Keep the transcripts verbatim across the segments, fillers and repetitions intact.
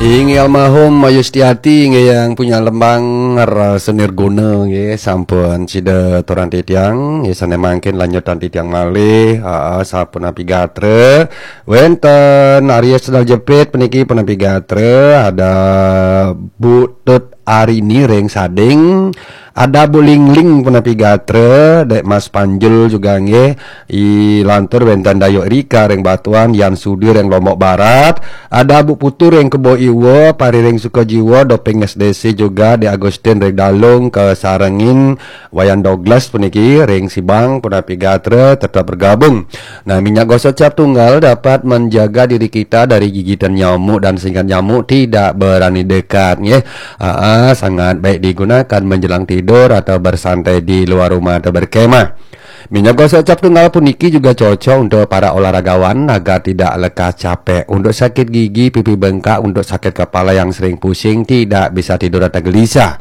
Inggih almarhum Yustiati inggih yang punya lembang rasa nirguna inggih sampun sida turun titiang, inggih sane mangkin lanjutan titiang malih, ha, sapunapi gatra. Wenten Arya Sendal Jepit puniki punapi gatra, ada Bu Tut Arini ring Sading, ada Bu Lingling punapi gatra, Dek Mas Panjul juga nggih, i lantur wenten Dayuk Rika ring Batuan, Yan Sudi ring Lombok Barat, ada Bu Putu ring Kebo Iwa, Pari ring Sukajiwa, Doping S D C juga, Dek Agustin ring Dalung, kasarengin Wayan Douglas puniki ring Sibang punapi gatra tetap bergabung. Nah, minyak gosok cap tunggal dapat menjaga diri kita dari gigitan nyamuk dan sehingga nyamuk tidak berani dekat, nggih. Aa, sangat baik digunakan menjelang tidur atau bersantai di luar rumah atau berkemah. Minyak gosok cap tunggal puniki juga cocok untuk para olahragawan agar tidak lekas capek, untuk sakit gigi, pipi bengkak, untuk sakit kepala yang sering pusing, tidak bisa tidur atau gelisah.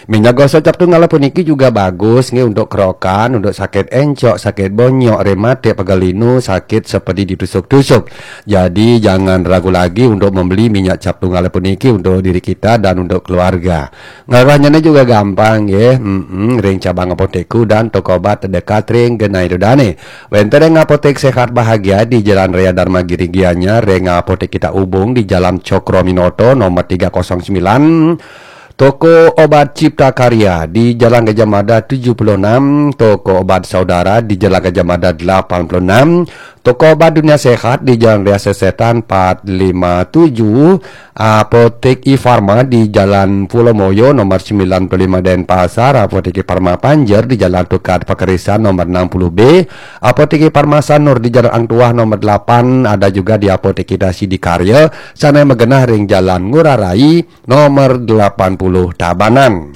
Minyak gosok cap tunggal puniki juga bagus nggih untuk kerokan, untuk sakit encok, sakit bonyok, rematik, pegal linu, sakit seperti ditusuk-tusuk. Jadi jangan ragu lagi untuk membeli minyak cap tunggal puniki untuk diri kita dan untuk keluarga. Ngarahnya juga gampang nggih. Mm-mm, ring cabang apotekku dan toko obat terdekat ring genah ida dane. Wenten ring Apotek Sehat Bahagia di Jalan Raya Dharma Giri Gianyar, ring Apotek Kita Ubung di Jalan Cokro Minoto nomor tiga kosong sembilan, Toko Obat Cipta Karya di Jalan Gajah Mada tujuh puluh enam, Toko Obat Saudara di Jalan Gajah Mada delapan puluh enam, Toko Obat Dunia Sehat di Jalan Raya Sesetan empat lima tujuh, Apotek Ifarma di Jalan Pulau Moyo nomor sembilan puluh lima Denpasar, Apotek Ifarma Panjer di Jalan Tukad Pakerisan nomor enam puluh B, Apotek Ifarma Sanur di Jalan Ang Tuah nomor delapan, ada juga di Apotek Kita Sidikarya, sane magenah ring Jalan Ngurah Rai nomor delapan puluh Tabanan.